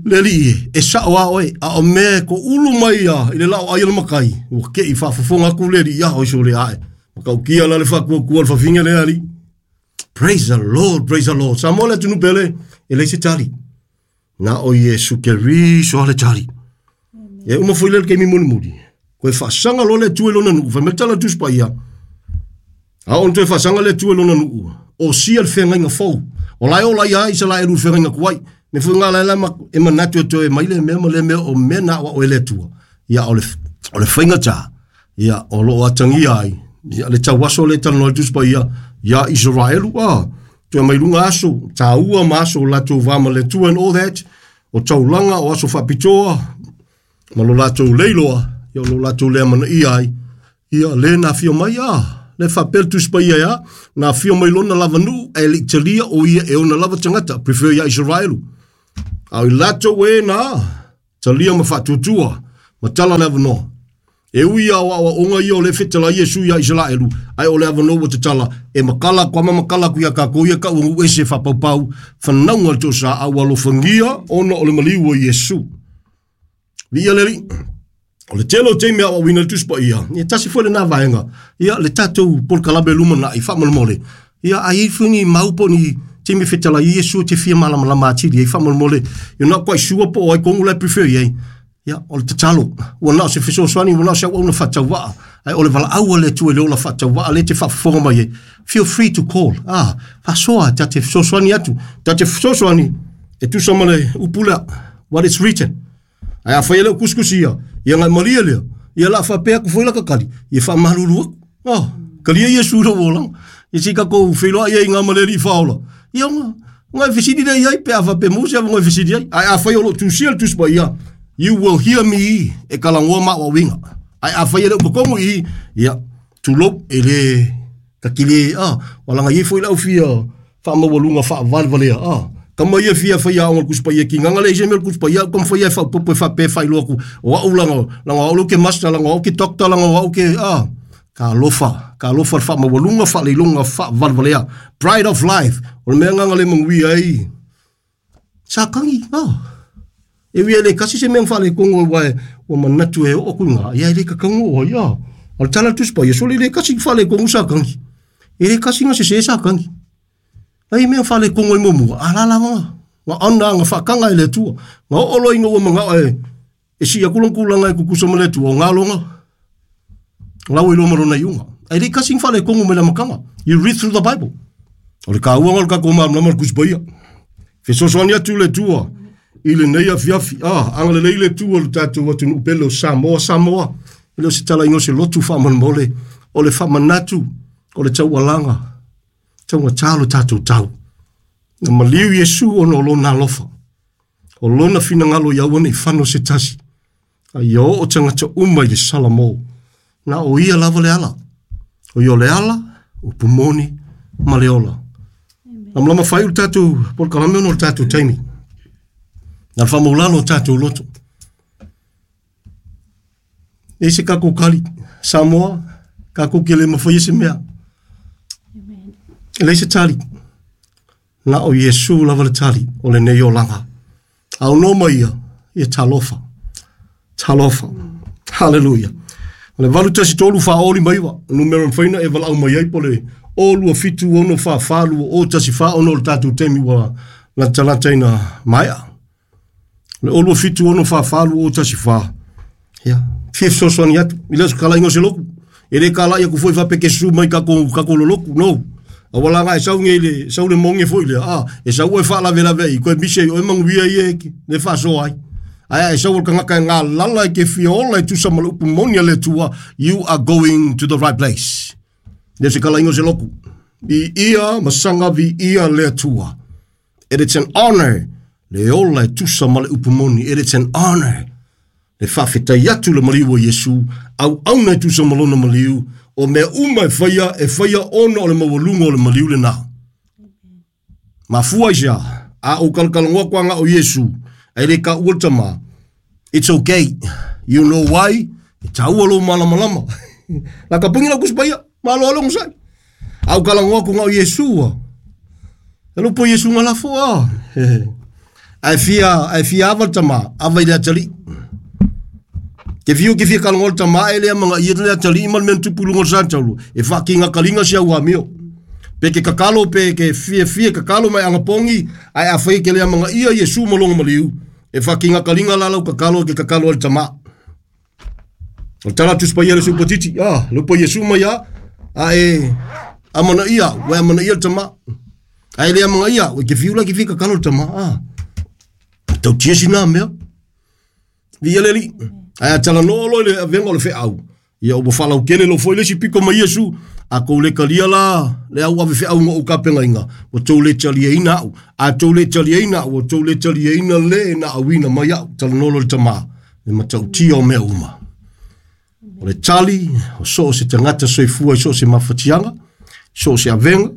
Le Alii e, e sao a oe, a o mea e koʻulu mai ia i le lao ai o le makai, ua kei faafofoga atu le Alii ia oi sole ae. Matautia la le faatuatua le fafine lea Alii. Praise the Lord, praise the Lord. Samoa le atunuu pele, e leai se tali. Na o Iesu Keriso le tali. E uma foi le taimi mulimuli. Koe faasaga loa le Atua i lona nuu, fai mai le tala o le Tusi Paia. A oo ina toe faasaga le Atua i lona nuu, osia le feagaiga fou. O la e ola ia Isaraelu i le feagaiga tuai. Mea foi ngā la e manatu e toe mai le mea ma le mea o mea na aoao e le Atua. Ia o le faigata, ia o loo atagia ai, ia le tauaso le talanoa i le Tusi Paia ia Isaraelu, a toe mai luga aso taua ma aso o latou va ma le Atua and all that, o taulaga o aso faapitoa ma lo latou leiloa, ia o lo latou lea manaia ai, ia le na afio mai, a Le faapea le Tusi Paia e a? Na afio mai lona lava nuu ae le i talia o ia e ona lava tagata, prefer ia Isaraelu. A o i latou e na talia ma faatuatua ma tala le avanoa. E ui ia o aoaoga ia o lea e fetalai Iesu ia Isaraelu, ae o le avanoa ua tatala, e makala aku ama makala aku ia kakou ia kau nuu ese faapaupau, fanauga a le toesa a ua alofagia ona o le maliu o Iesu. Viia le Alii. O le tele o taimi aoaoina le Tusi Paia, ia tasi foi lena vaega. Ia le tatou polokalame lumanai faamolemole. Ia a i ai foi ni mau po o ni taimi e fetalai ai Iesu e te fia malamalama atili ai faamolemole. You're not quite sure po o ai kogu la e prefer i ai. Ia, o le tatalo, ua na o se fesoasoani, ua na o se auauna faatauvaa, ae o le valaau a le Atua i le ola faatauvaa lea e te faafofoga mai ai. Feel free to call. Ah, faasoa, ta te fesoasoani atu. Ta te fesoasoani e tusa ma le upu lea, what it's written. Ae afai e le o kusikusi ia, ia ngai malie lea, ia la faapea aku foi la kakali, ia faamalulu aku. Oh, kalia Iesu i lou olaga. Ia se i tatou feiloai ai i ngā male alii faaola. Ia nga, nga e fesili lea i ai pe a faapea maua se avanoa e fesili ai. Ae afai o lo o tusia le Tusi Paia, you will hear me e kalagoa ma aoaoina. Ae afai e le o totonu i i, ia, tulou, e le takile, ah, walaga i ai foi le au fia faamaualuga faavalevalea, ah, kama ia fia fai aoga o le Tusi Paia ki gaga le se mea o le Tusi Paia, au kama fai e faaopoopo e faapea e faailoa atu, o au laga, laga o au lea ou te master, laga o au ke doctor, laga o au ke, ah, ka alofa, ka alofa le faamaualuga, faaleiloga, faavalevalea, pride of life, o le mea gaga le manuia ai, sa kagi, ah. E ui e le kasi se mea na faaletonu aua e ua manatu e oo atu i ina, ia e le tatau ona oo ai, ah. O le tala a le Tusi Paia, sole e le kasi faaletonu sa kagi. E le kasi na sese sa kagi. Ai mea faaletonu ai muamua, a la lava na ona na faataga e le Atua. Na oo loa ina ua manao e e sii atu lona tulaga e tutusa ma le Atua, o galoga, lau ai loa ma lona iuga. Ae le i kasi ni faaletonu mai le amataga. You read through the Bible. O le taua lena o le tatou malamalama i le Tusi Paia. Fesoasoani atu le Atua i lenei afiafi. Ah, agalelei le Atua i le tatou atunuu pele o Samoa. Samoa, e le o se talaiga o se lotu faamolemole, o le faamanatu, o le taualaga, taugata lo tatou tau. Na maliu Iesu ona o lona alofa. O lona finagalo ia aua ne i fano se tasi, a ia oo tagata uma i le Salamo. Na o ia lava le ala. O ia o le ala, upu moni ma le ola. Lamalama faaiu le tatou polokalame ona o le tatou taimi. Na le faamaulalo o tatou loto. E se kako kali, Samoa, kako ke le mawhai se mea. E leai se tali. Na o Iesu lava le tali o lenei olaga. A o noma ia, ia talofa. Talofa. Hallelujah. O le 813 4 09, numera mafai ona e valaau mai ai po le o 27 6 44 2 o 1 4 ona o le tatou taimi ua latalata ina maea. O le o 27 6 44 2 o 1 4. Ia, fia fesoasoani atu. I le o se kalaiga o se lotu. E le kalai atu foi faapea ke susu mai kako kako lolotu. No. Aua la e sau nei le sau le monge foi lea. Ah, e sau e faalavelave ai, koe misi ai oe manuia ia e le faasoa ai. Ae e sau o le tagata e galala e ke fia ola e tusa ma le upu moni a le Atua, you are going to the right place. Le se kalaiga o se lotu. I ia masaga vi ia le Atua. It is an honor le ola e tusa ma le upu moni. It is an honor le faafetai atu le maliu o Iesu, auauna e tusa ma lona maliu, o mea uma e faia, e faia ona o le maualuga o le maliu lena. Mafua i se a, a ou kalakalanoa atu aga o Iesu, ae le taua le tama, it's okay. You know why? E taua lou malamalama. La ka pungi lau Tusi Paia, malo alo onosai. A ou talanoa atu na o Iesu a. E lupo Iesu nga lafo a. Ae fia, ae fia ava le tama, ava i le atalii. Ke fiu ke fia kalongo le tama e lea manga ia le atalii ma le mea na tupu i luga o le sa-taulu, e whaakinga kalinga si au amio. Pe ke kakalo, pe ke fia fia kakalo mai angapongi, ae a whai ke lea manga ia Iesu ma longa maliu, e whaakinga kalinga la lau kakalo ke kakalo a le tama. O le tala Tusi Paia le supatiti, ah, lupo Iesu mai a, a e amana ia, ua e amana ia le tama. A e le amana ia, ua ke fiu la ke fia kakalo le tama, ah. Tau tia sina mea. Via le alii. Ae a talanoa loa i le avega o le feau, ia ua faalautele loa foi le isi pito ma Iesu, a tou le talia la le au ave feau na ou tapenaina, ua tou le taliaina au. A tou le taliaina au, ua tou le taliaina le na auina mai au. Talanoa loa le tama, le matautia o mea uma. O le tali, o so o se tagata soifua i so o se mafatiaga, so o se avega,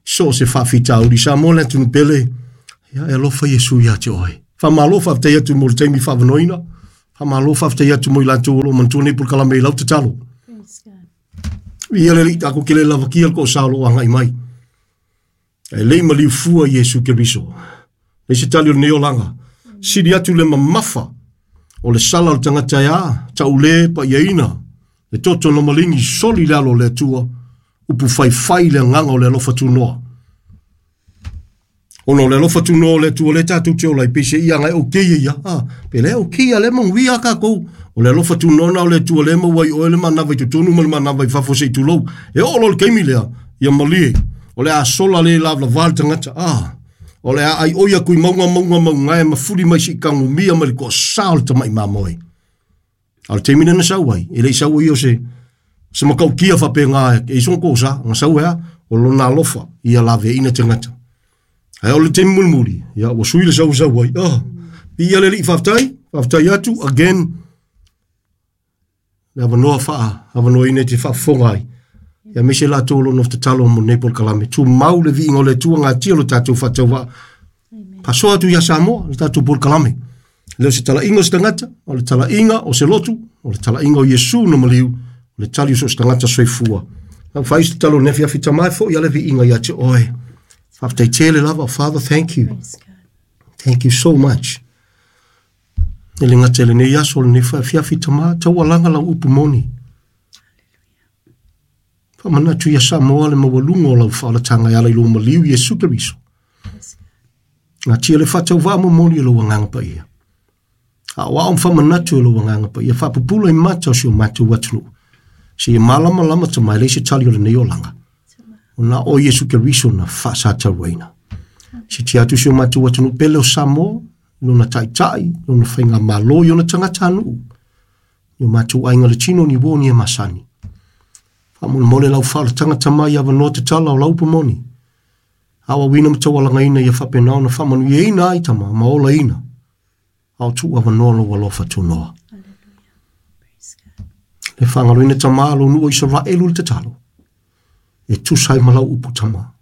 so o se faafitauli. Samoa le atunuu pele, ia e alofa Iesu ia te oe. Faamalo faafetai atu mo le taimi faavanoaina. Faamalo faafetai atu mo i latou o lo o manatua nei polokalame i lau tatalo. Praise God. Ia le Alii tatou te le lavakia le toasā o lo o agai mai. Ae le i maliu fua Iesu Keriso. Le se tali o lenei olaga. Sili atu le mamafa o le sala o le tagata e a, taule paiaina, le toto na maligi soli le alo o le Atua, upu faifai le agaga o le alofa tunoa. Ona o le alofa tunoa o le Atua lea tatou te ola ai, peiseai ia agai okay ia ia. Ah, pe lea okay ia lea manuia a kākou. O le alofa tunoa na o le Atua lea maua ai oe le manava i totonu ma le manava i fafo se i tulou. E oo loa i le taimi lea, ia malie. O le a sola le lavalava le tagata. Ah, o le a aioi atu i mauga mauga maugae ma fuli mai se i tagomia mai le toasā o le tamai mamoe. A o le taimi lea na sau ai, e le i sau ai o se se matautia faapena e i sona toasa, na sau ai a, o lona alofa ia laveaiina tagata. Ae o le taimi mulimuli, ia ua sui le sau e sau ai. Oh, viia le Alii, faafetai, faafetai atu again le avanoa faa-avanoaina e te faafofoga ai. Ia aemaise latou o lo o nofo tatalo mo lenei polokalame. Tumau le viiga o le Atua, gatia lo tatou faatauvaa. Faasoa atu ia Samoa le tatou polokalame. Le o se talaiga o se tagata, o le talaiga o se lotu, o le talaiga o Iesu na maliu, o le tali o so o se tagata soifua. Lau fai se tatalo i lenei afiafi tama e foi a le viiga ia te oe. Faafetai tele lava, Father, thank you. Praise God. Thank you so much. E le gata i lenei aso, lenei afiafi tama, taualaga lau upu moni. Faamanatu ia Samoa le maualuga o lau faaolataga e ala i lou maliu Iesu Keriso. Gatia le faatauvaa momoli e lou agaga paia. Aoao ma faamanatu e lou agaga paia, faapupula i mata o si o matou atunuu. Seia malamalama tama e leai se tali o lenei olaga. O na o Iesu Keriso na faasataruaina. Sitia atu si o matou atunuu pele o Samoa, lona taitai, lona faigamalo i ona tagatanuu. I o matou aiga le tino ni uo ni e masani. Faamolemole lau faaolataga tama i avanoa tatala o lau upu moni. Aoaoina ma taualagaina ia faapena ona faamanuiaina ai tama ma olaina. A o tuu avanoa lou alofa tunoa. Praise God. Le faagaloina tama lou nuu o Isaraelu le tatalo. E tusa ai ma lau upu tama.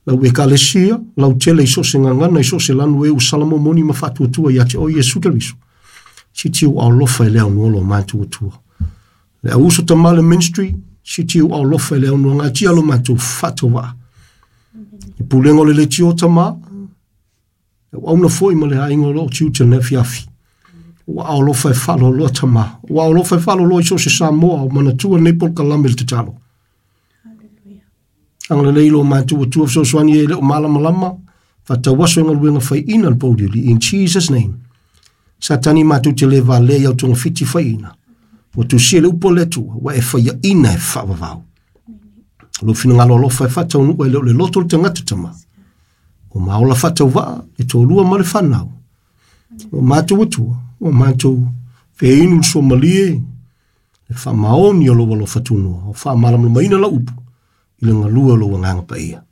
Lau ekalesia, lau tele i so o se gagana, i so o se lanu e ua salamomoni ma faatuatua ia te oe Iesu Keriso. Siti ou alofa e le aunoa lo matou Atua. Le au uso tama le ministry, siti ou alofa e le aunoa gatia lo matou faatauvaa. I pulega o le leitio tama, le auauna foi ma le aiga o loo tiute lenei afiafi. Ua alofa e faaloloa tama. Ua alofa e faaloloa i so o se Samoa o manatua lenei polokalame i le tatalo. Hallelujah. Agalelei lo matou Atua fesoasoani e le o malamalama, faatauaso e galuega faiina le pouliuli. In Jesus name. Satani matou te le valea i au togafiti faiina. Ua tusia le upu a le Atua, ua e faiaina e faavavau. Lou finagalo alofa e faataunuu e le o le loto o le tagata tama. O maola faatauvaa, le toalua ma le fanau. O matou Atua, o matou feinu le suamalie, le faamaoni o lou alofa tunoa, o faamalamalamaina lau upu i le galue o lou agaga paia.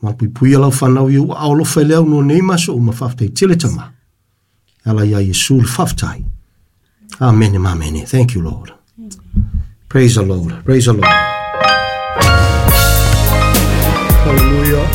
Mapuipuia lau fanau i ou aao alofa e le aunoa nei ma aso uma, faafetai tele tama. E ala ia Iesu le faafetai. Amene ma amene. Thank you, Lord. Praise the Lord. Praise the Lord. Hallelujah.